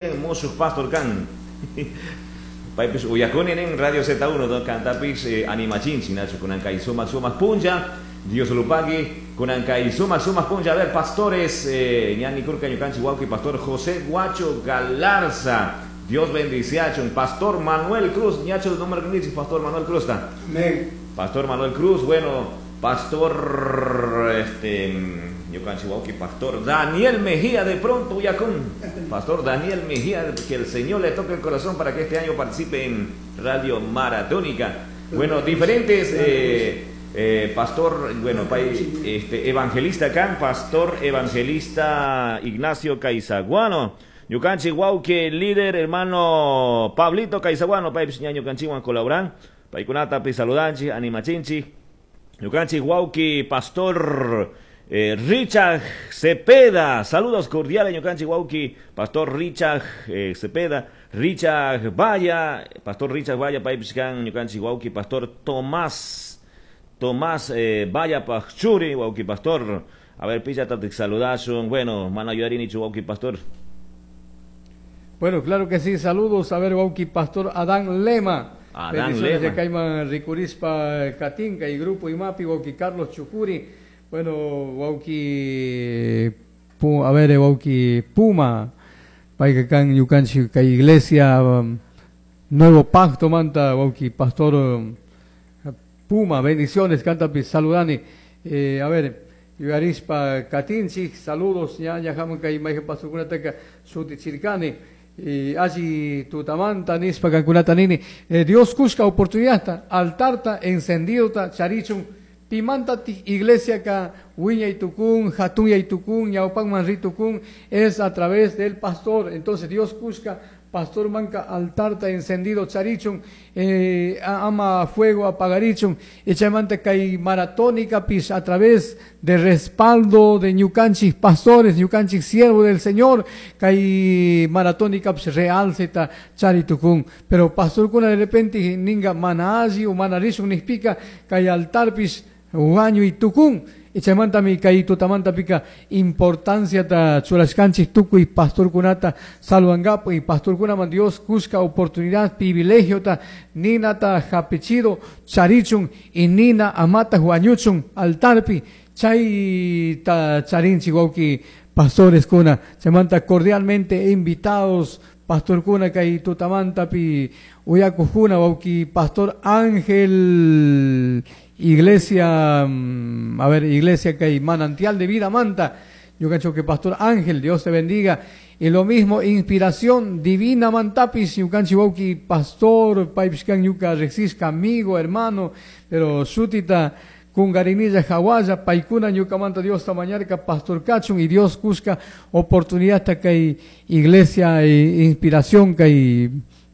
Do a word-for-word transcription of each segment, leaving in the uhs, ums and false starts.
Musuh pastor kan. Paypis uyakuni nin Radio Z uno do kantapis eh, animachinchi nachu kunan kay sumak sumak punlla Dios lupagui kunan kay sumak sumak punlla. A ver, pastores, eh, ñani kurka ñukanchi wawki pastor José Guacho Galarza, Dios bendiciachun. Pastor Manuel Cruz, ñacho número que Pastor Manuel Cruz está. Amén. Pastor Manuel Cruz, bueno, pastor este ñukanchi wawki pastor Daniel Mejía de pronto uyakun. Pastor Daniel Mejía, que el Señor le toque el corazón para que este año participe en Radio Maratónica. Bueno, diferentes eh, eh, pastor, bueno, pay, este evangelista acá, pastor evangelista Ignacio Caizaguano. Ñukanchi wawki líder hermano Pablito Caizaguano, pay ñukanchiwan colaboran. Paykunata pi saludanchi, animachinchi. Ñukanchi wawki pastor eh, Richard Cepeda, saludos cordiales ñukanchi wawki, pastor Richard eh, Cepeda, Richard Valla, pastor Richard Valla, paypish kan ñukanchi wawki, pastor Tomás, Tomás eh, Valla Pachuri, wawki pastor. A ver, pillata te saludashun, bueno, mana yuyarini wawki pastor. Bueno, claro que sí, saludos, a ver, wawki pastor Adán Lema. Adán Bendiciones Lema. de Cayman Ricurispa Katinka y Grupo Imapi, wawki Carlos Chucuri. Bueno, wawki, a ver, wawki Puma, payka kan ñukanchik kay iglesia um, Nuevo Pacto manta, wawki pastor um, Puma, bendiciones, kantapi saludani. Eh, a ver, yuyarispa katinchik, saludos, ña ña hamun kay mayqan pastorkunataka shutichirkani. Eh, alli tutamanta nispa kankunata nini. Eh, Dios kushka oportunidadta, altarta encendidota charichun pimanta iglesia ka wiñay tukun, hatunyay tukun, ñawpakman ritukun, es a través del pastor. Entonces Dios kushka pastor manka altarta encendido charichun, eh, ama fuego apagarichun, y chaymanta kay maratónica pis a través de respaldo de ñukanchik pastores, ñukanchik siervo del Señor, kay maratónica pis realceta charitukun. Pero pastor kuna de repente ninga mana alli o mana rishun nispika kay altar pis wañuy tukun. Y chaymanta mi kay tutamanta pika importancia ta churashkanchik tukuy pastorkunata salvangapu y pastorkunaman Dios kushka oportunidad, privilegio ta ninata hapichido charichun y nina amata huañuchun altarpi chay ta charinchik wawki pastores kuna. Chaymanta cordialmente invitados pastor kuna kay tutamanta pi uyakujuna wawki pastor Ángel Iglesia, a ver, iglesia que hay manantial de vida manta. Yo cacho que pastor Ángel, Dios te bendiga. Y lo mismo, inspiración divina mantapis, yukanchi wawki pastor, paypishkan yuka rexisca, amigo, hermano, pero sutita kungarinilla hawaya, paykuna ñukamanta Dios tamañarka, pastor kachun, y Dios kushka oportunidad hasta que hay iglesia e inspiración que hay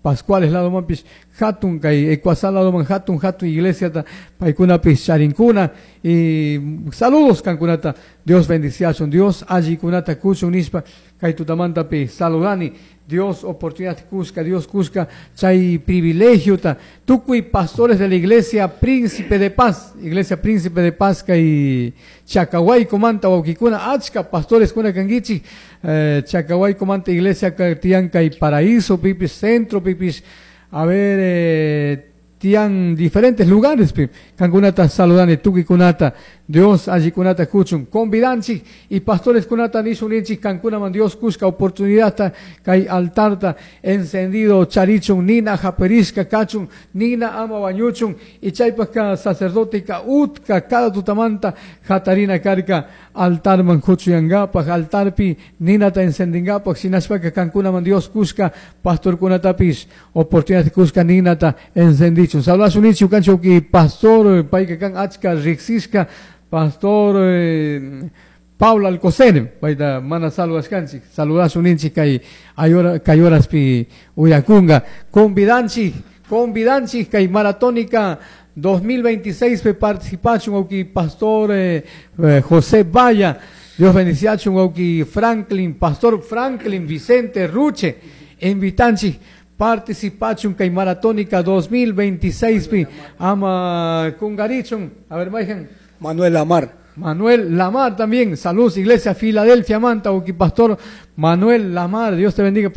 Pascuales lado mampis hatun kay Ecuasal lado man hatun hatun iglesia ta paykunapis charinkuna y saludos kankunata Dios bendiciachun Dios allikunata kuchun nispa kay tutamantapi saludani Dios oportunidad kushka Dios kushka chay privilegio ta tukuy pastores de la iglesia Príncipe de Paz, iglesia Príncipe de Paz kay Chacahuayco manta wawkikuna achka pastores kuna kankichik eh, Chacahuayco manta iglesia tiyan kay Paraíso pipis centro pipis a ver eh, tiyan diferentes lugares pi kankunata saludani tukuy kunata Dios allikunata kuchun convidanchik y pastores kunata nishun ninchik kankunaman Dios kushka oportunidad kay altarta encendido charichun nina japerishka kachun nina ama wañuchun y chaypaka sacerdote ka utka cada tutamanta jatarina karka altarman kuchuyangapak altarpi ninata encendingapak shinashpaka kankunaman Dios kushka pastor kunatapis oportunidad kushka ninata encendichun saludasun ninchik ukanchik pastor payka kan achka riksishka pastor eh, Pablo Alcocer, payta mana saludasunchik, saludasun ninchik kay ayora kay horaspi uyakunga, convidanchik, convidanchik kay maratónica dos mil veintiséis pe participachun wawki pastor eh, eh, José Valla, Dios bendiciachun wawki Franklin, pastor Franklin Vicente Ruche, invitanchik participachun kay maratónica dos mil veintiséis pi ama kungarichun, a ver mayhan. Manuel Amar. Manuel Lamar también. Saludos, Iglesia Filadelfia Manta, pastor Manuel Lamar. Dios te bendiga,